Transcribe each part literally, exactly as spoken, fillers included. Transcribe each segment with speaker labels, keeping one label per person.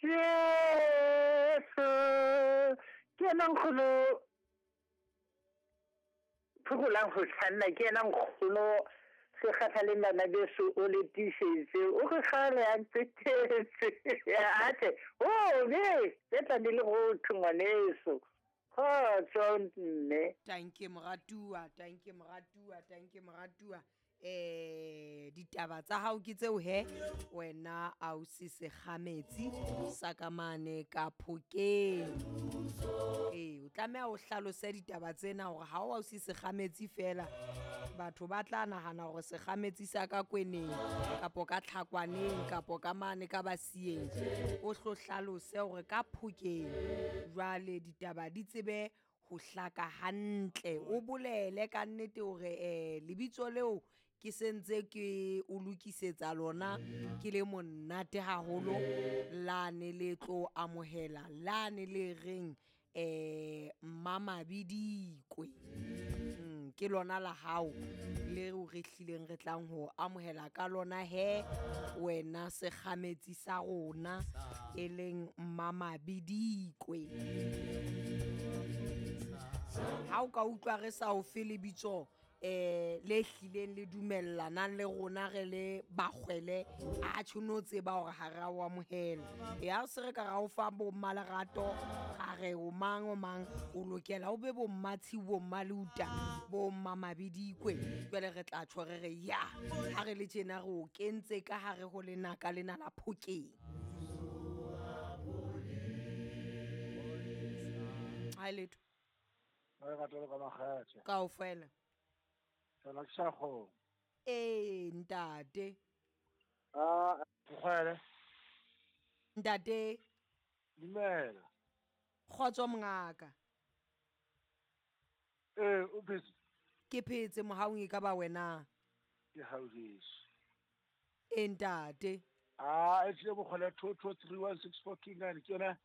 Speaker 1: Jesu ke yena nkgono phokolang go tlhanna ke yena nkgono se kgathaleng bana beso o le tiišetse o re kgale a ntsetetse atle o be tse tla di le go thwe ngwaneso kgotso mme.
Speaker 2: Tanke moratuwa, tanke moratuwa, tanke moratuwa. Eh ditaba tsa hao ke tseo he wena ausi Sekgametsi sa ka mane ka Phokeng. Ee, o tlameha o hlalose ditaba tsena hore ha o ausi Sekgametsi fela batho ba tla nahana hore Sekgametsi sa ka Kweneng kapo ka Tlhakwaneng kapo ka mane ka Basieng. O hlo hlalose hore ka Phokeng jwale ditaba di tsebe ho hlaka hantle. O bolele ka nnete hore eh lebitso leo ke sentse ke o lokisetsa lona ke le monate haholo lane le tlo amohela lane le reng eh Mmamabidikwe. Mm, ke lona la hao leo re hlileng re tlang ho amohela ka lona he wena Sekgametsi sa rona e leng Mmamabidikwe. Ha o ka utlwa re sa o fe lebitso eh le hlileng le dumellanang le rona re le bakgwele a tjho no tseba hore ha re a o amohela. Ya se re ka ra o fa bo mmalerato ra re o mang o mang o lokela o be bo mmatshiu bo mmaleuta bo mmamabidikwe. Jwale re tla tjho re re ya ha re le tjena re o kentse ka hare ho lenaka lena la Phokeng. Ha letho
Speaker 3: Re rata le ka makgethe.
Speaker 2: kaofela.
Speaker 3: Tsona ke sa kgona.
Speaker 2: Ee ntate.
Speaker 3: Ah, Mokgwele.
Speaker 2: Ntate.
Speaker 3: Dumela.
Speaker 2: Kgotso mongaka.
Speaker 3: Ee, o phetse?
Speaker 2: Ke phetse mohaung e ka ba wena.
Speaker 3: Ke hauheso.
Speaker 2: Ee ntate.
Speaker 3: Ah, e tlile Mokgwele two two three one six four two nine ke yona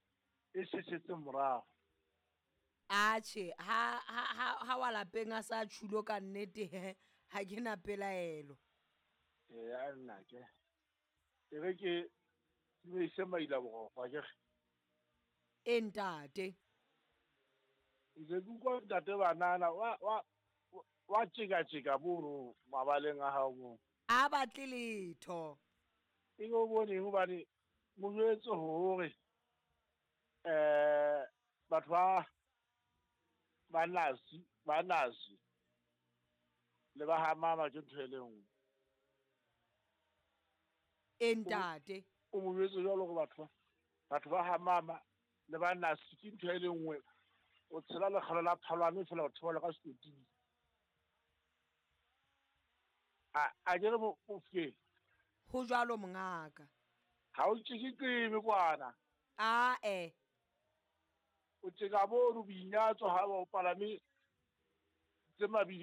Speaker 3: e setseng morao.
Speaker 2: Atjhe, ha ha ha ha wa lapeng a sa tjhulo ka nnete he ha ke na pelaelo.
Speaker 3: Ee, a nna ke. E re ke ke ise maila boroko akere.
Speaker 2: Ee ntate.
Speaker 3: Ntse ke utlwa ntate banana wa wa wa tjeka-tjeka mono mabaleng a hao moo.
Speaker 2: A batle letho.
Speaker 3: E o bone hobane mo jwetse hore eh batho ba ba nasi ba nasi le ba ha mama ke ntho e le nngwe.
Speaker 2: Ee ntate.
Speaker 3: O mo jwetse jwalo hore batho ba batho ba ha mama le ba nasi ke ntho e le nngwe. O tshela lekgalo la phalwane feela o theohela ka sekoting. A a ke re Mofokeng.
Speaker 2: Ho jwalo mongaka.
Speaker 3: Ha o tjeke kwana.
Speaker 2: Ae.
Speaker 3: O tjeka mono boinyatso ha o palame tse mabidi.